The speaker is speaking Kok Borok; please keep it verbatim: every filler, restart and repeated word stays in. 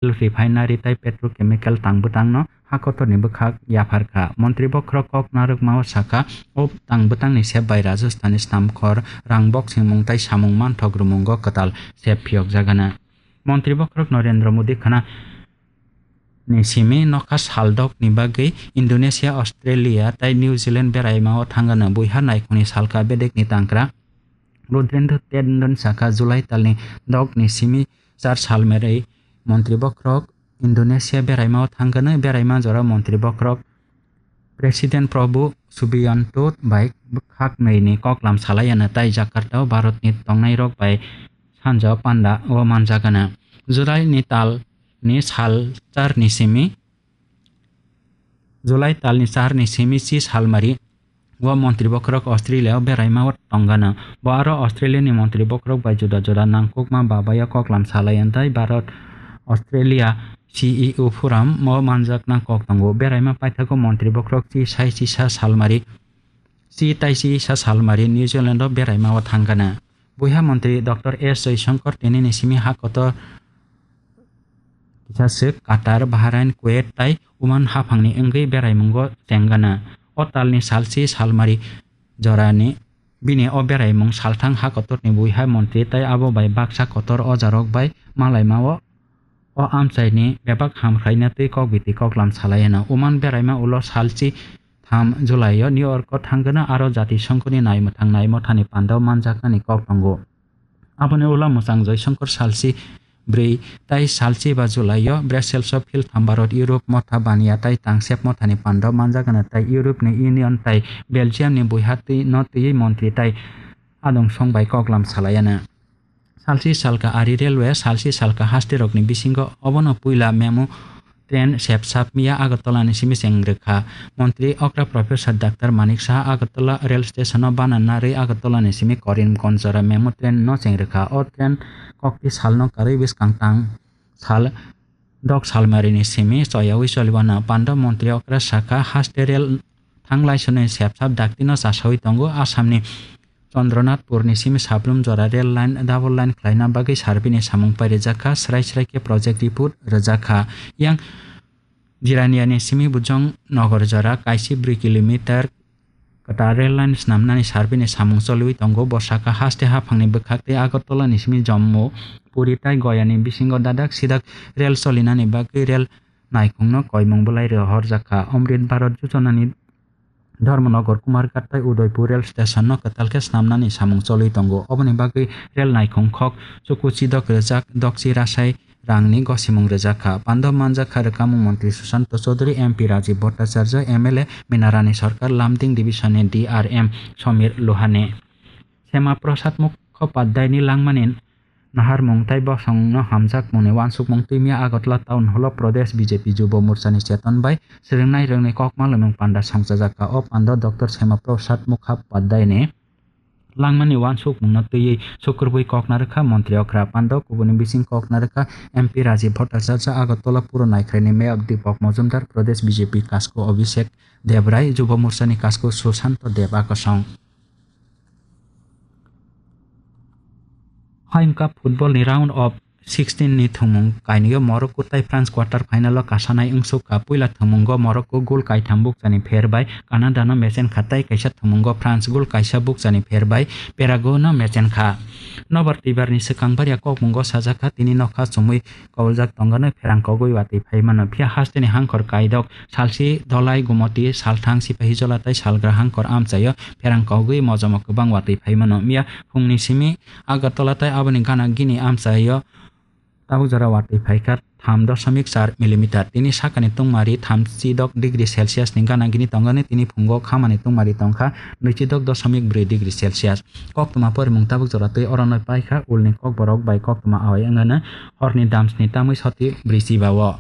refinery tei petrochemical tang bwtangno ha kotorni bwkhak yapharkha. Montri bokhorok kok narwkmao sakha, o tang bwtangni sep bai Rajasthanni snamkhor rang boksingmung tei samung manthok rwmungo kwtal sep phiyokjagana. Montri bokhorok Narendra Modi khana ni simi nokha saldokni bagwi Indonesia, Australia tei New Zealand beraimao thangano. Buiha naikhungni salka bedekni tangkra Rudrendra Tandon sakha, July talni dokni simi char salmari montri bokhorok Indonesia beraimao thangkano. Beraima jora montri bokhorok President Prabowo Subianto bai khaknwini koklam salaiano tei Jakarta-o Bharatni tongnairok bai sanja panda o manjagana. July ni tal ni sal char ni simi, July tal ni char ni simi si salmari o montri bokhorok Australia o beraima o tongana. Bo aro Australia ni montri bokhorok bai juda juda nangkukma babayo koklam salai tei Bharat Australia C E O forum o manjakna kok tongo. Beraima paithago montri bokhorok si sai sisa salmari si tai si sa salmari New Zealand o beraima o thangkana. Buiha montri Doctor S Jaishankar tini ni simi ha kotor kisa swk Qatar, Bahrain, Kuwait tai Oman haphangni wngwi beraimungo chengana. O talni salsi salmari jorani bini o beraimung salthang ha kotorni buiha montri tai abo bai baksa kotor ojarok bai malaima o O amchaini bebak hamkhlaina tei kok biti koklam salai hwno. Oman beraima ulo salchi tham July-o New York-o thangkhe aro Jati Songkhoni naimwthang naimwthani pandao manjaknani kok tongo. Aboni ulo mwchang Joysongkor salchi bwrwi tai salchi ba July-o Brussels-o phil tham Bharat Europe motha baniya tai tangsep mothani pandao manjaknani tai Europe-ni Union tai Belgium-ni buiha twi no twiwi montri tai adong song bai koklam salai hwno. Salsi salka ari railway, salsi salka haste rokni bisingo obono puila memo train sepsap miya Agartala ni simi cheng rwkha. Montri okra Professor Doctor Manik Saha Agartala rail station o bana narwi Agartala ni simi Karimganj jora memo train no cheng rwkha. O train kokti salno karwi bwskang tang sal dok salmarini simi choyawi choliwano. Panda montri okra sakha haste rail thanglai swnwi sepsap daktino chasawi tongo. Assamni Chandranathpurni simi Sabrum jora rail line double line khlaina bagwi survey-ni samung pairijak kha, srai srai khe project report rwjak kha. Yang Jiraniani simi Bujong Nogor jora kaisa bwrwi kilometer kwtal rail line snamnani survey-ni samung choliwi tongo. Bo sakha haste haphangni bwkhak tei Agartala-ni simi Jammu, Puri tai Goya-ni bisingo dadak sidak rail cholinani bagwi rail naikhungno koimung bwlai rohorjak kha. Amrit Bharat Yojana-ni Dharmanagar, Kumarghat tai Udaipur rail station-no kwtal khe snamnani samung choliwi tongo. Oboni bagwi rail naikhung khok chuku chidok rwjak, dokchi rasai rangni gosimung rwjak kha. Pando manjak kha rwkamung montri Sushanta Chowdhury, M P Rajiv Bhattacharya, M L A Minarani Sarkar, Lumding Division-ni D R M Samir Lohani. Shyama Prasad Mukhopadhyay-ni langmani naharmung tai bosongno hamjakmungni uansukmung twimya Agartala Town Hall-o Pradesh B J P Jubo Morchani Cheton bai swrwngnai rwngni kokma lwmung panda songchajak kha. O pando Doctor Shyama Prasad Mukhopadhyay-ni langmani uansukmungno twiwi sukrubwi kokna rwkha montri okra pando, kubuni bising kokna rwkha M P Rajiv Bhattacharya, Agartala Puro Naikhraini Mayor Deepak Majumdar, Pradesh B J P Kasko Abhishek Debrai, Jubo Morchani Kasko Sushanta Deb Akosong. Hayung Cup football ni round of sixteen ni thwngmung kainwio Morocco tai France quarter final o kasanai wngsukha. Puila thwngmungo Morocco goal kaitham bukchani pher bai Canada no mechenkha tai kaisa thwngmungo France goal kaisa bukchani pher bai Paraguay no mechenkha. Nobar twibar ni swkang barya kokmungo sajakha tini nokha chumui koboljak tongano pherang kogwi watwi phai mano. Phiya hasteni hangkhor kaidok salsi dolai gumoti salthang sipahijola tai salgra hangkhor amchaio pherang kogwi mojomo kwbang watwi phai mano. Miya phungni simi Agartala tai aboni gana gini amchaio tabuk jora watwi phaikha tham dosomik char millimeter. Tini sakani tungmari thamchi dok degree Celsius ni gana gini tongani, tini phungo khamani tungmari tongkha nwichi dok dosomik bwrwi degree Celsius. Koktwma porimung tabuk jora twi orono paikha ulni kokborok bai koktwma awai wngano horni damsni tamwi soti bwrwi chiba-o.